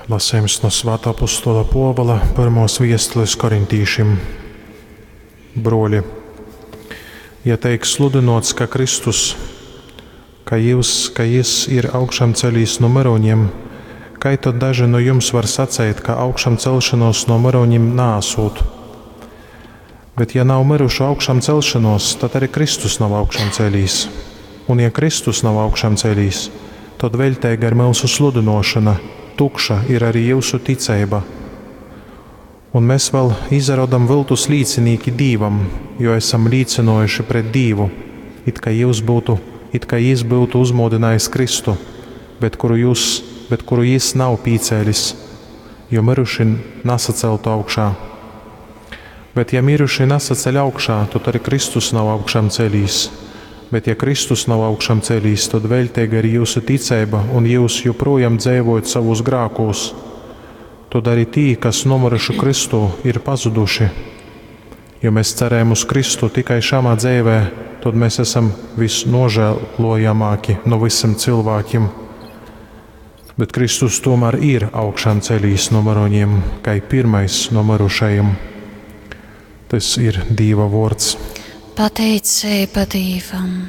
Lasejums no Svāta Apostola Pōvula pyrmōs viestules korintīšim. Brōli, ja teik sludynōts, ka Kristus, ka jyus, ka Jys ir augšamcelīs nu myrūņim, kai tod daži nu jums var saceit, ka augšamcelšonōs nu myrūņim naasūt? Bet ja nav myrušu augšamcelšonōs, tad arī Kristus nav augšamcelīs. Un ja Kristus nav augšamcelīs, tod veļteiga ir myusu sludynōšona, tukša ir arī jyusu ticeiba. Un mes vēl izarodam vyltus līcinīki Dīvam, jo esam līcynōjuši pret Dīvu, it kai jyus byutu, it kai Jys byutu uzmūdynājis Kristu, bet kuru jūs, bet kuru Jys nav pīcēlis, jo myruši nasaceltu augšā. Bet ja miruši nasaceļ augšā, tod arī Kristus nav augšām celīs. Bet ja Kristus nav augšām celīs, tod veļteiga ir jyusu ticeiba un jyus joprojām dzeivojat savūs grākūs. Tod arī tī, kas nomyruši Kristū, ir pazuduši. Jo mēs cerējam uz Kristu tikai šamā dzeivē, tod mēs esam visnožēlojamāki no visiem cilvēkiem. Bet Kristus tomēr ir augšām celīs no mirušajiem, kai pirmais no mirušajiem. Tas ir Dīva vārds. Pateiceiba Dīvam.